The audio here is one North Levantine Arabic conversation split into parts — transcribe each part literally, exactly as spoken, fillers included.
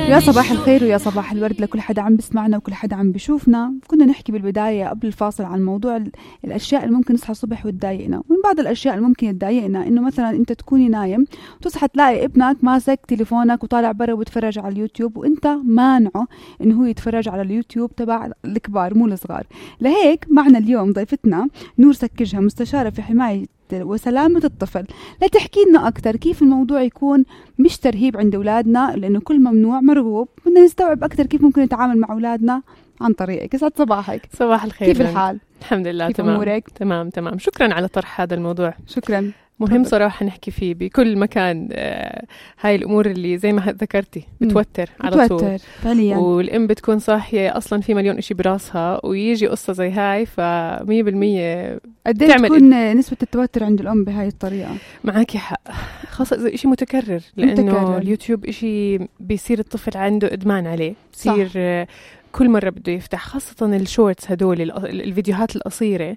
يا صباح الخير ويا صباح الورد لكل حدا عم بسمعنا وكل حدا عم بيشوفنا. كنا نحكي بالبداية قبل الفاصل عن موضوع الأشياء اللي ممكن نصحى الصبح وتضايقنا. ومن بعض الأشياء اللي ممكن تضايقنا إنه مثلا أنت تكوني نايم وتصحى تلاقي ابنك ماسك تليفونك وطالع برا وبتفرج على اليوتيوب وأنت مانعه إنه هو يتفرج على اليوتيوب تبع الكبار مو الصغار. لهيك معنا اليوم ضيفتنا نور سكجها، مستشارة في حماية وسلامة الطفل، لتحكي لنا أكتر كيف الموضوع يكون مش ترهيب عند أولادنا، لأنه كل ممنوع مرغوب. بدنا نستوعب أكتر كيف ممكن نتعامل مع أولادنا عن طريقك. يسعد صباحك. صباح الخير. كيف الحال؟ الحمد لله كيف تمام. أمورك؟ تمام تمام. شكرا على طرح هذا الموضوع. شكرا. مهم طبعا. صراحة نحكي فيه بكل مكان. آه هاي الأمور اللي زي ما ذكرتي بتوتر م. على طول بتوتر فعليا، والأم بتكون صاحية أصلا في مليون إشي براسها ويجي قصة زي هاي فمية بالمية. قديش تكون إد... نسبة التوتر عند الأم بهاي الطريقة؟ معاكي حق، خاصة إذا إشي متكرر، لأنه متكرر. اليوتيوب إشي بيصير الطفل عنده إدمان عليه، بيصير آه كل مرة بده يفتح، خاصة الشورتس هدول الفيديوهات القصيرة.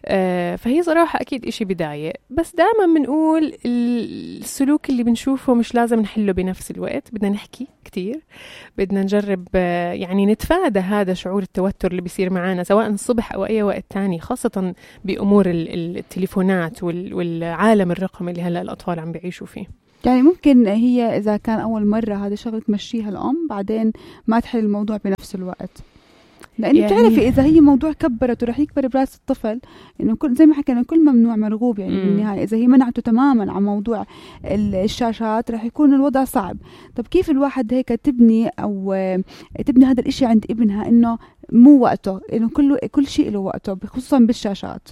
آه فهي صراحة أكيد إشي بداية، بس دائما بنقول السلوك اللي بنشوفه مش لازم نحله بنفس الوقت. بدنا نحكي كتير، بدنا نجرب آه يعني نتفادى هذا شعور التوتر اللي بيصير معانا سواء الصبح أو أي وقت تاني، خاصة بأمور التليفونات والعالم الرقمي اللي هلأ الأطفال عم بيعيشوا فيه. يعني ممكن هي إذا كان أول مرة هذا شغلة تمشيها الأم، بعدين ما تحل الموضوع بنفس الوقت، لأنه يعني بتعرفي إذا هي موضوع كبرت ورح يكبر براس الطفل، إنه كل زي ما حكينا كل ممنوع مرغوب يعني بالنهاية. إذا هي منعته تماما عن موضوع الشاشات رح يكون الوضع صعب. طب كيف الواحد هيك تبني أو تبني هذا الإشي عند ابنها إنه مو وقته، إنه كل كل شيء له وقته، خصوصا بالشاشات؟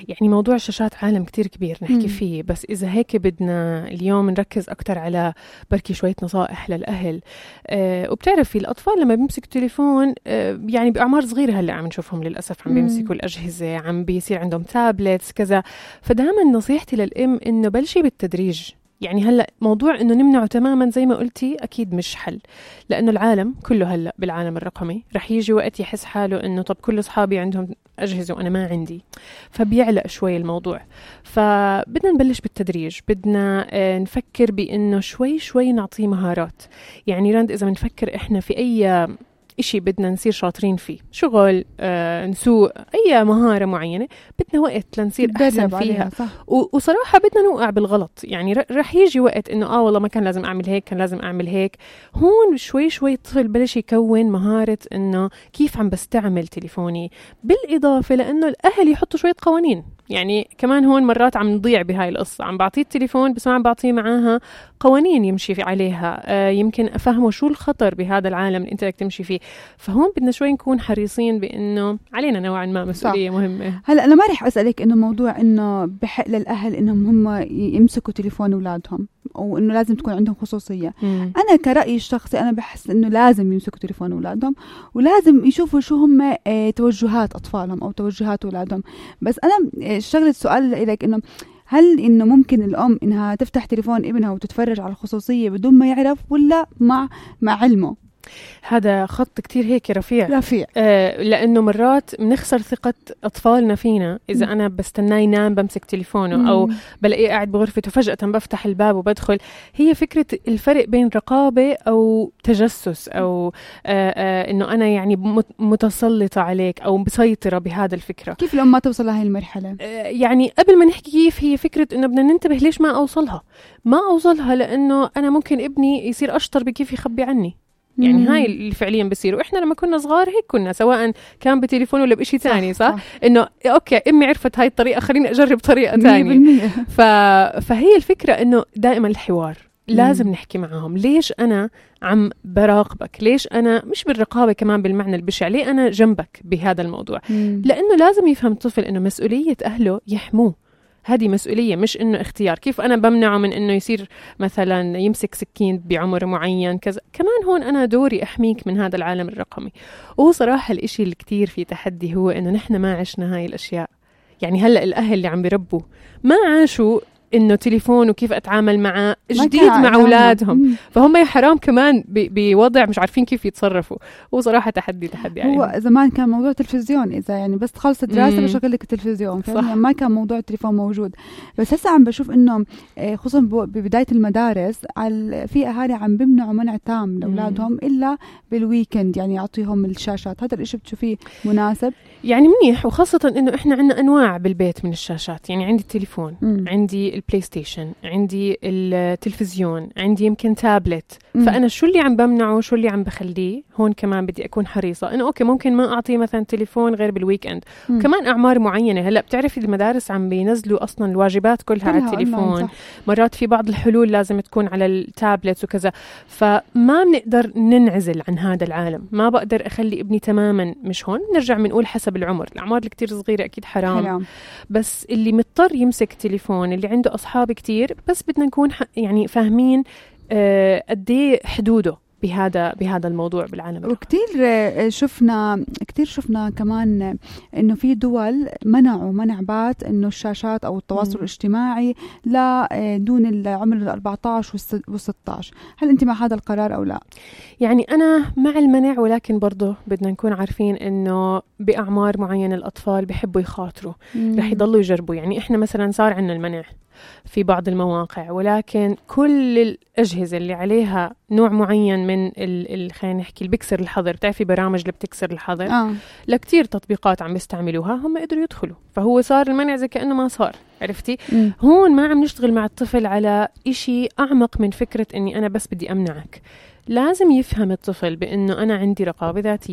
يعني موضوع الشاشات عالم كتير كبير نحكي مم. فيه، بس إذا هيك بدنا اليوم نركز أكتر على بركي شوية نصائح للأهل. أه وبتعرفي الأطفال لما بيمسكوا التليفون أه يعني بأعمار صغيرة هلأ عم نشوفهم للأسف عم بيمسكوا الأجهزة، عم بيصير عندهم تابلتس كذا. فدائما نصيحتي للأم إنه بلشي بالتدريج. يعني هلأ موضوع إنه نمنعه تماماً زي ما قلتي أكيد مش حل، لأنه العالم كله هلأ بالعالم الرقمي رح يجي وقت يحس حاله إنه طب كل أصحابي عندهم أجهزة وأنا ما عندي، فبيعلق شوي الموضوع. فبدنا نبلش بالتدريج، بدنا نفكر بإنه شوي شوي نعطيه مهارات. يعني راند إذا بنفكر إحنا في أي إشي بدنا نصير شاطرين فيه، شغل آه، نسوق أي مهارة معينة، بدنا وقت لنصير أحسن فيها. وصراحة بدنا نوقع بالغلط. يعني رح يجي وقت إنه آه والله ما كان لازم أعمل هيك، كان لازم أعمل هيك. هون شوي شوي الطفل بلش يكون مهارة إنه كيف عم بستعمل تليفوني، بالإضافة لأنه الأهل يحطوا شوية قوانين. يعني كمان هون مرات عم نضيع بهاي القصة، عم بعطيه التليفون بس ما عم بعطيه معاها قوانين يمشي عليها. آه يمكن أفهمه شو الخطر بهذا العالم اللي أنت بدك تمشي فيه. فهون بدنا شوي نكون حريصين بأنه علينا نوعا ما مسؤولية صح. مهمة. هلا أنا ما رح أسألك إنه موضوع إنه بحق للأهل إنهم هم يمسكوا تليفون أولادهم وإنه لازم تكون عندهم خصوصية. مم. أنا كرأيي الشخصي أنا بحس إنه لازم يمسكوا تليفون أولادهم ولازم يشوفوا شو هم اه توجهات أطفالهم أو توجهات أولادهم. بس أنا شغلة سؤال لك إنه هل إنه ممكن الأم إنها تفتح تليفون ابنها وتتفرج على الخصوصية بدون ما يعرف، ولا مع مع علمه؟ هذا خط كتير هيك رفيع رفيع آه لأنه مرات بنخسر ثقة أطفالنا فينا إذا م. أنا بستناه ينام بمسك تليفونه م. أو بلاقيه قاعد بغرفته فجأة بفتح الباب وبدخل. هي فكرة الفرق بين رقابة أو تجسس أو آه آه إنه أنا يعني متسلطة عليك أو مسيطرة بهذا الفكرة. كيف الأم ما توصل لهي المرحلة؟ آه يعني قبل ما نحكي كيف، هي فكرة إنه بدنا ننتبه ليش ما أوصلها ما أوصلها لأنه أنا ممكن ابني يصير أشطر بكيف يخبي عني. يعني مم. هاي اللي فعليا بصير. وإحنا لما كنا صغار هيك كنا، سواء كان بتليفون ولا بإشي تاني صح, صح؟ صح. إنه أوكي أمي عرفت هاي الطريقة خليني أجرب طريقة تانية. ف... فهي الفكرة إنه دائما الحوار لازم مم. نحكي معهم. ليش أنا عم براقبك؟ ليش أنا مش بالرقابة كمان بالمعنى البشع، ليه أنا جنبك بهذا الموضوع؟ مم. لأنه لازم يفهم الطفل إنه مسؤولية أهله يحموه. هذه مسؤولية مش إنه اختيار. كيف أنا بمنعه من إنه يصير مثلا يمسك سكين بعمر معين كذا؟ كمان هون أنا دوري أحميك من هذا العالم الرقمي. وهو صراحة الإشي اللي كتير في تحدي هو إنه نحن ما عشنا هاي الأشياء. يعني هلأ الأهل اللي عم بيربوا ما عاشوا إنه تليفون وكيف أتعامل معه جديد مع أولادهم، فهم يا حرام كمان بوضع مش عارفين كيف يتصرفوا. وصراحة تحدي تحدي هو عليهم. زمان كان موضوع تلفزيون، إذا يعني بس تخلص الدراسة بشغل لك التلفزيون، يعني ما كان موضوع التليفون موجود. بس هسه عم بشوف إنه خصوصا ببداية المدارس في أهالي عم بمنعوا منع تام لأولادهم إلا بالويكند، يعني يعطيهم الشاشات. هذا الإشي بتشوفيه مناسب؟ يعني منيح، وخاصة إنه إحنا عنا أنواع بالبيت من الشاشات. يعني عندي التليفون، مم. عندي البلاي ستيشن، عندي التلفزيون، عندي يمكن تابلت. مم. فأنا شو اللي عم بمنعه شو اللي عم بخليه هون كمان بدي أكون حريصة إنه أوكي ممكن ما أعطيه مثلا تليفون غير بالويكند. كمان أعمار معينة. هلأ بتعرفي المدارس عم بينزلوا أصلا الواجبات كلها على التليفون، مرات في بعض الحلول لازم تكون على التابلت وكذا. فما بنقدر ننعزل عن هذا العالم. ما بقدر أخلي ابني تماما مش هون. نرجع بنقول حسب العمر، الأعمار اللي كتير صغيرة أكيد حرام. حرام. بس اللي مضطر يمسك تليفون، اللي عنده أصحاب كتير، بس بدنا نكون يعني فاهمين آه قديه حدوده بهذا بهذا الموضوع بالعالم. وكتير شفنا كتير شفنا كمان إنه في دول منعوا منع بات إنه الشاشات أو التواصل م. الاجتماعي لا دون العمر الأربعة عشر والستة عشر. هل أنت مع هذا القرار أو لا؟ يعني أنا مع المنع، ولكن برضه بدنا نكون عارفين إنه بأعمار معينة الأطفال بيحبوا يخاطروا، رح يضلوا يجربوا. يعني إحنا مثلا صار عنا المنع في بعض المواقع، ولكن كل الأجهزة اللي عليها نوع معين من ال خلينا نحكي البكسر الحظر، بتعرفي برامج اللي بتكسر الحظر آه. لكتير تطبيقات عم بيستعملوها، هم قدروا يدخلوا، فهو صار المنع زي كأنه ما صار. عرفتي؟ م. هون ما عم نشتغل مع الطفل على إشي أعمق من فكرة إني أنا بس بدي أمنعك. لازم يفهم الطفل بأنه أنا عندي رقابة ذاتية.